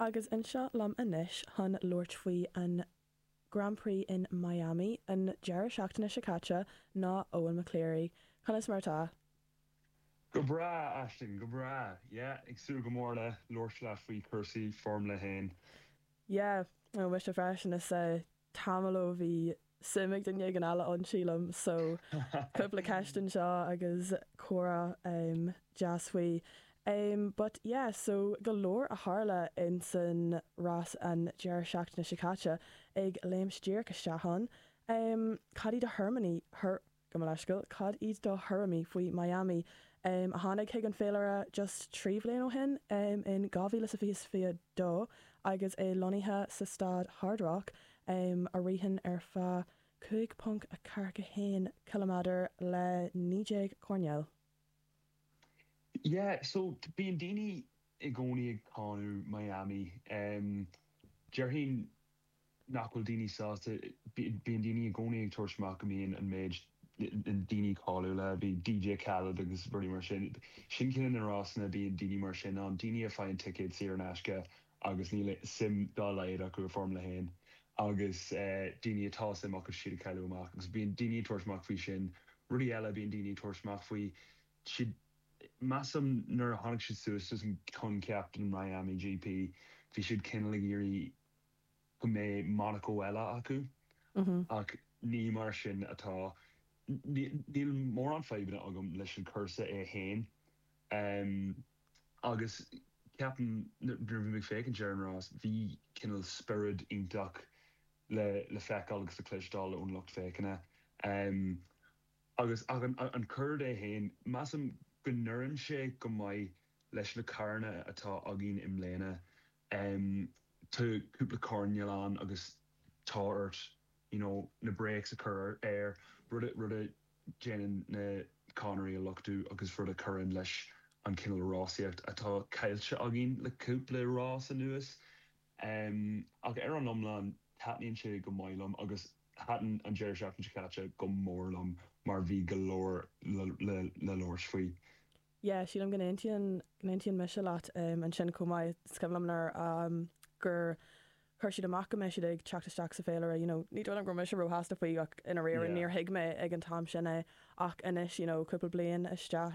Agus anseo liom anois chun labhairt faoi an Grand Prix in Miami an deireadh seachtaine seo caite ná Eoin McCleary. Conas mar atá? Go breá, Aisling, go breá. Yeah, ag súil go mór le labhairt leat faoi chúrsaí Formula 1. Yeah, ó mise freisin. Is tamall ó bhí suim ag duine éigin eile ann, sílim, so cúpla ceist anseo agus comhrá deas faoi. But yeah, so go leor a tharla ins an rás an deireadh seachtaine seo caite, ag léimt díreach isteach ann. Cad iad do thuairimí, Gabh mo leithscéal, cad iad do thuairimí faoi Miami, a tháinig chuig an féilire just 3 bhliain ó shin, in 2022, agus é lonnaithe sa staid Hard Rock, a ritheann ar feadh 5.41 ciliméadar le 19 coirnéal? Yeah, so bíonn daoine i gcónaí ag cáineadh Miami. Déarfainn nach bhfuil daoine sásta, bíonn daoine i gcónaí ag tabhairt amach go mbíonn an méid daoine cáiliúla, bhí DJ Khaled agus rudaí mar sin, sin cineál na rásanna, bíonn daoine mar sin ann, daoine a faigheann ticéad saor in aisce agus níl suim dá laghad acu i Formula 1 agus daoine atá suim acu siad ag cailleadh amach agus bíonn daoine ag tabhairt amach faoi sin. Rudaí eile bíonn daoine ag tabhairt amach faoi, siad, measaim nuair a tháinig siad suas leis an coincheap den Miami GP bhí siad cineál ag iarraidh go mbeidh Monaco eile acu, ach ní mar sin atá. Níl mórán fadhbanna agam leis an cúrsa é féin, agus ceapaim nuair a bhí mé ag féachaint ar an rás, bhí cineál spiorad iontach le feiceáil agus le cloisteáil ón lucht féachana. Agus ach an cuaird é féin, measaim go n-oireann sé go maith leis na carranna atá againn i mbliana. Tá cúpla coirnéal ann agus tá ort you know na brakes a chur air, rud a, rud a déanann na conairí a luchtú agus rud a chuireann leis an cineál rásaíocht atá caillte againn le cúpla rás anuas. Ach ar an iomlán taitníonn sé go maith liom agus thaitin an deireadh seachtaine seo caite go mór liom mar bhí go leor le le le labhairt faoi. Yeah, sílim go n-aontaíonn, go n-aontaíonn mise leat ansin chomh maith. Is cuimhin liom nuair gur chuir siad amach go mbeidh siad ag teacht isteach sa féilire, you know, ní dóigh liom go raibh mise róshásta faoi ach i ndáiríre níor thuig mé ag an t-am sin é ach anois, you know, cúpla bliain isteach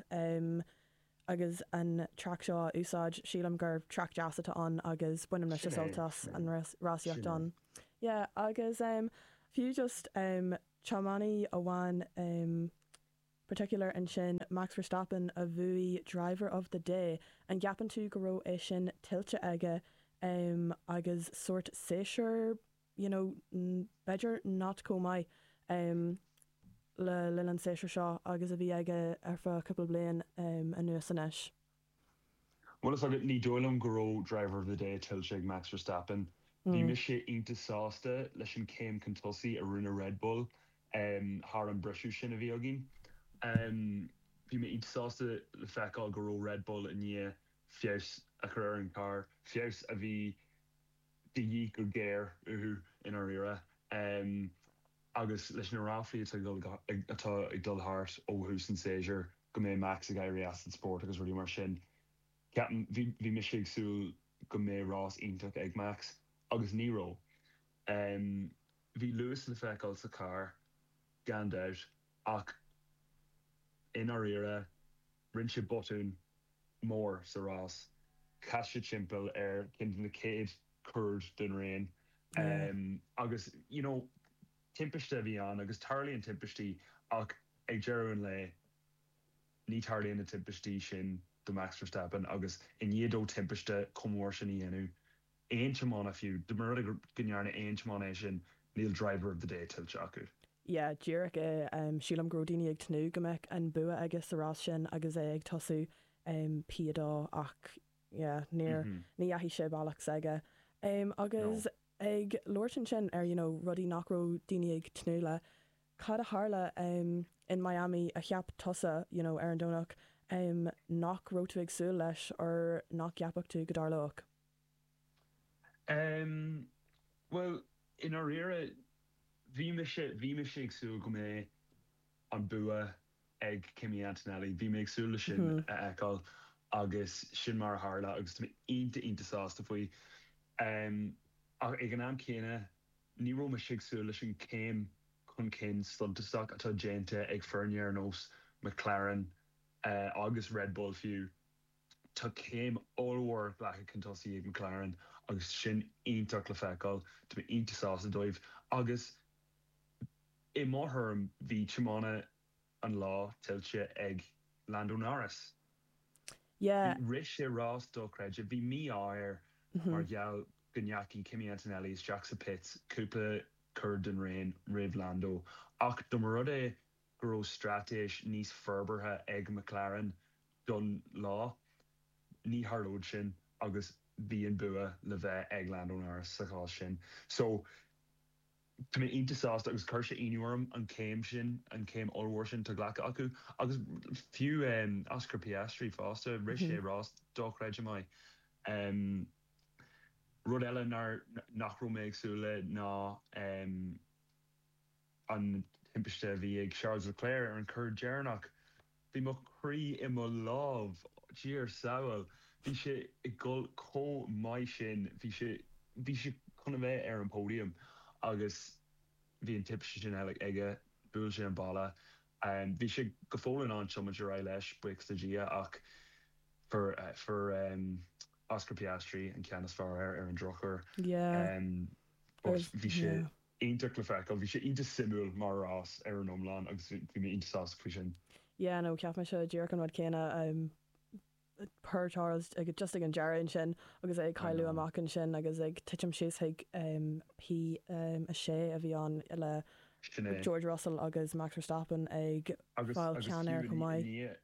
agus an traic seo á úsáid, sílim gur traic deas atá ann agus baineann mise sult as an rásaíocht ann. Yeah, agus fiú just tiománaí amháin, particular ansin Max Verstappen a bhuaigh Driver of the Day, an gceapann tú go raibh é sin tuillte aige agus sórt séasúr you know b'fhéidir not chomh maith le linn an séasúr seo agus a bhí aige ar feadh cúpla bliain anuas anois? Bhuel is agat, ní dóigh liom go raibh Driver of the Day tuillte ag Max Verstappen. Bhí mise iontach sásta leis an céim chun tosaigh a rinne Red Bull thar an briseadh sin a bhí againn. Bhí mé iontach sásta le feiceáil go raibh Red Bull i ndiaidh feabhas a chur ar an charr, feabhas a bhí de dhíth go géar uathu i ndáiríre. Agus leis na ráflaí atá ag dul thart ó thús an tséasúir, go mbeidh Max ag éirí as an spórt agus rudaí mar sin. Ceapaim, bhí, bhí mise ag súil go mbeidh rás iontach ag Max agus ní raibh. Bhí luas le feiceáil sa charr, gan dabht, ach i ndáiríre, rinne sé botún mór sa rás. Chas sé timpeall ar ceann de na chéad chuaird den raon agus, you know, Timpiste a bhí ann agus tarlaíonn timpistí ach ag deireadh an lae ní tarlaíonn na timpistí sin do Max Verstappen agus i ndiaidh dó timpiste chomh mór sin a dhéanamh, aon tiománaí fiú, dá mba rud é go ndearna aon tiománaí é sin, níl Driver of the Day tuillte acu. Yeah, díreach é. Sílim go raibh daoine ag tnúth go mbeadh an bua aige sa rás sin agus é ag tosú P2 ach yeah, níor, ní dheachaigh sé bealach s'aige. Agus Ag labhairt ansin ar you know rudaí nach raibh daoine ag tnúth le, cad a tharla in Miami a cheap tusa you know ar an Domhnach nach raibh tú ag súil leis or nach gceapfadh tú go dtarlódh? Em, bhuel, i ndáiríre, bhí mise, bhí mise ag súil go mbeadh an bua ag Kimi Antonelli. Bhí mé ag súil le sin a fheiceáil agus sin mar a tharla agus tá mé iontach, iontach sásta faoi. Ach ag an am céanna, ní raibh mise ag súil leis an chéim chun cinn suntasach atá déanta ag foirne ar nós McLaren agus Red Bull fiú. Tá céim ollmhór glactha chun tosaigh ag McLaren agus sin iontach le feiceáil. Tá mé iontach sásta dóibh agus i mo thuairim bhí tiománaí an lá tuillte ag Lando Norris. Yeah. Rith sé rás dochreidte. Bhí mí-ádh air mar gheall go ndeachaigh Kimi Antonelli isteach sa pits cúpla cor den raon roimh Lando ach dá mba rud é go raibh straitéis níos forbartha ag McLaren don lá, ní tharlódh sin agus bhí an bua le bheith ag Lando Norris sa chás sin. So, tá mé iontach sásta agus chuir sé ionadh orm an chéim sin, an chéim ollmhór sin atá glactha acu agus fiú Oscar Piastri fosta, rith sé rás dochreidte maith. Rud eile nár, nach raibh mé ag súil le ná an timpiste a bhí ag Charles Leclerc ar an cor deireanach. Bhí mo chroí i mo lámh, Dia ár sábháil. Bhí sé ag dul chomh maith sin, bhí sé, bhí sé chun a bheith ar an podium agus bhí an timpiste sin aige, bhuail sé an balla. Bhí sé go fóill in ann tiomáint ar aghaidh leis, buíochas le Dia, ach fuair, fuair Oscar Piastri an ceann is fearr air ar an drochuair. Yeah. But bhí sé. iontach le feiceáil. Bhí sé iontach suimiúil mar rás ar an iomlán agus bhí mé iontach sásta faoi sin. Yeah no, cheap mise díreach an rud céanna. Poor Charles ag just ag an deireadh ansin agus é ag cailleadh amach ansin agus ag titim síos chuig P6 a bhí ann le George Russell agus Max Verstappen ag fáil ceann air chomh maith.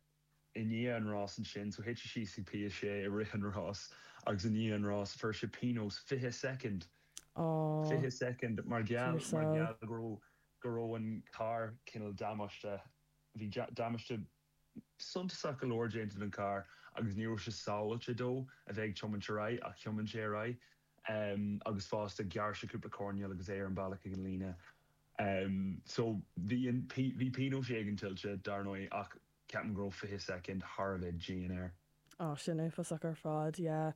I ndiaidh an rás ansin, so thit sé síos ag P6 i rith an rás agus i ndiaidh an rás fuair sé pionós 20 soicind, 20 soicind mar gheall, mar gheall go raibh, go raibh an carr cineál damáiste, bhí damáiste suntasach go leor déanta don charr agus ní raibh sé sábháilte dó a bheith ag tiomáint ar aghaidh ach thiomáin sé ar aghaidh agus fosta ghearr sé cúpla coirnéal agus é ar an bealach ag an líne. So bhí an, bhí pionós éigin tuillte dar ndóigh ach ceapaim go raibh 20 soicind thar a bheith dian air. Oh sin uafásach ar fad, yeah.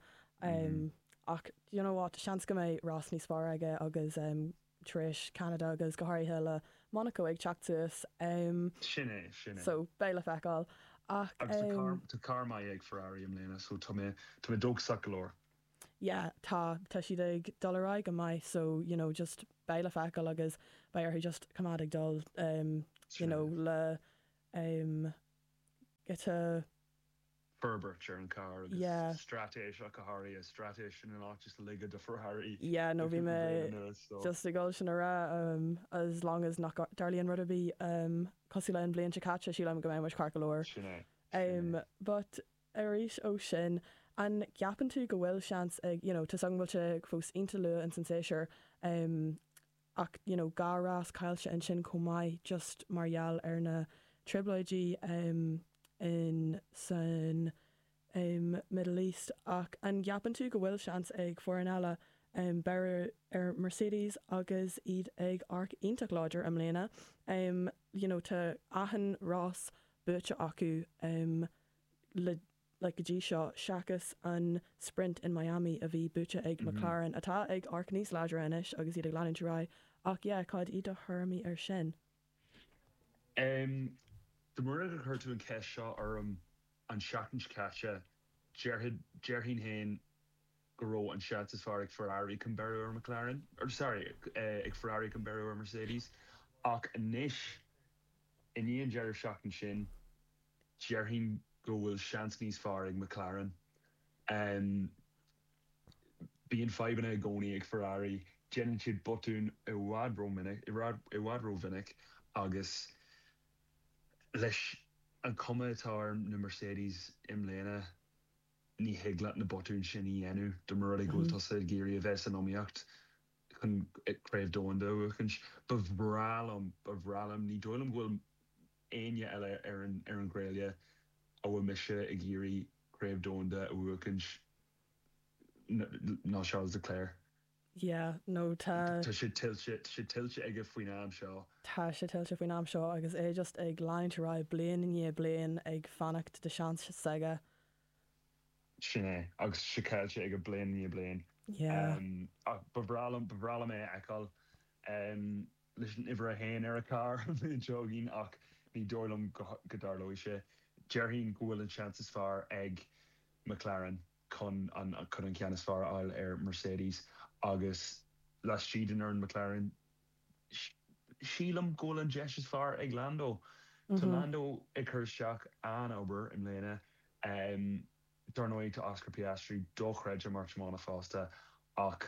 Ach you know what, seans go mbeidh rás níos fearr aige agus tar éis Ceanada agus go háirithe le Monaco ag teacht suas. Sin é, sin é. So beidh le feiceáil. Ach. Agus tá carr, tá carr maith ag Ferrari i mbliana so tá mé, tá mé dóchasach go leor. Yeah, tá, tá siad ag dul ar aghaidh go maith so you know just beidh le feiceáil agus beidh orthu just coimeád ag dul you know le um giota. forbairt ar an carr agus Yeah. straitéis ach go háirithe, straitéis sin in áit just a ligeadh do Ferrari Yeah, no le bhí cúpla mé bliain anuas so. just ag dul sin a rá um as long as nach dtarlaíonn rud ar bith um cosúil le an bhliain seo caite sílim go mbeidh muid ceart go leor. Sin é, sin Um é. but arís ó sin, an gceapann tú go bhfuil seans ag, you know, tá's agam go bhfuil sé fós iontach luath ins an séasúr um ach you know dhá rás caillte ansin chomh maith just mar gheall ar na trioblóidí um in san um Middle East ach an gceapann tú go bhfuil seans ag foireann eile um beiriú ar Mercedes agus iad ag amharc iontach láidir i mbliana um you know tá achan rás buaite acu um le like go dtí seo, seachas an sprint in Miami a bhí buaite ag McLaren, atá ag amharc níos láidre anois agus iad ag leanúint ar aghaidh. Ach yeah, cad iad do thuairimí ar sin? Em, dá mba rud é gur chuir tú an cheist seo orm an seachtain seo caite, déarfainn, déarfainn féin go raibh an seans is fearr ag Ferrari chun beiriú ar McLaren, or sorry, ag Ferrari chun beiriú ar Mercedes. Ach anois, i ndiaidh an deireadh seachtaine sin, Déarfainn go bhfuil seans níos fearr ag McLaren. Bíonn fadhbanna i gcónaí ag Ferrari, déanann siad botúin i bhfad rómhinic, i bhfad rómhinic agus leis an chuma atá ar na Mercedes i mbliana, ní thig leat na botúin sin a dhéanamh dá mba rud é go bhfuil tusa ag iarraidh a bheith san iomaíocht chun Craobh Domhanda a bhuachaint. Ba bhreá liom, ba bhreá liom, ní dóigh liom go bhfuil éinne eile ar an ar an ghréille a bhfuil mise ag iarraidh Craobh Domhanda a bhuachaint ná Charles Leclerc. Yeah, no tá. Tá sé tuillte, tá sé tuillte aige faoin am seo. Tá sé tuillte faoin am seo agus é just ag leanúint ar aghaidh bliain i ndiaidh bliain ag fanacht do seans s'aige. Sin é, agus sé caillte aige bliain i ndiaidh bliain. Yeah. Ach ba bhreá liom, ba bhreá liom é a fheiceáil leis an uimhir a haon ar a charr an bhliain seo chugainn ach ní dóigh liom go dtarlóidh sé. Déarfainn go bhfuil an seans is fearr ag McLaren chun an chun an ceann is fearr a fháil ar Mercedes agus laistigh den fhoireann McLaren sílim go bhfuil an deis is fearr ag Lando. Tá Lando ag cur isteach an-obair i mbliana. Dar ndóigh tá Oscar Piastri dochreidte mar tiománaí fosta ach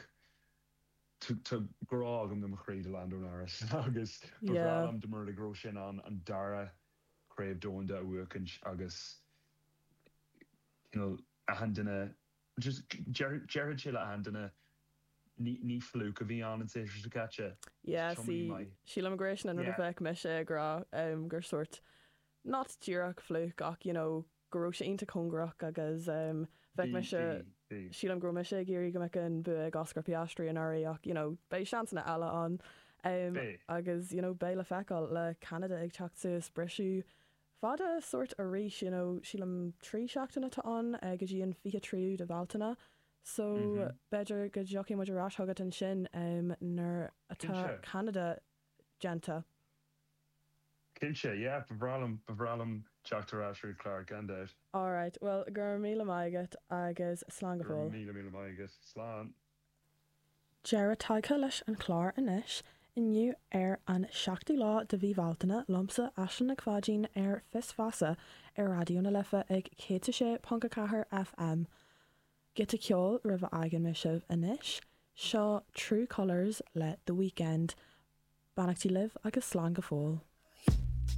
tá grá agam do mo chroí do Lando Norris agus ba bhreá liom dá mba rud é go raibh sé in ann an dara craobh domhanda a bhuachaint agus cineál achan duine just déarfadh sé le achan duine ní ní fluke a bhí ann an séasúr seo caite. Yeah, see, sílim gur é sin an rud a bheadh mise ag rá gur sórt not díreach fluke ach you know go raibh sé iontach cóngarach agus bheadh mise, sílim go raibh mise ag iarraidh go mbeadh an bua ag Oscar Piastri anuraidh ach you know beidh seansanna eile ann agus you know beidh le feiceáil le Ceanada ag teacht suas briseadh fada sórt arís you know sílim 3 seachtaine atá ann go dtí an 23ú de Bhealtaine so b'fhéidir go dtiocfaidh muid ar ais chugat ansin nuair atá Ceanada déanta. Cinnte, yeah, ba bhreá liom, ba bhreá liom teacht ar ais ar an chlár, gan dabht. Alright, bhuel, go raibh míle maith agat agus slán go fóill. Go raibh míle míle maith agat. Slán. Deireadh tagtha leis an chlár anois, inniu ar an 7ú lá de mhí Bhealtaine, liomsa, Aisling Nic Pháidín ar Fios Feasa ar Raidió na Life ag 106.4 FM. Giota ceoil roimh a fhágann mé sibh anois, seo True Colours le The Weeknd. Beannachtaí libh agus slán go fóill.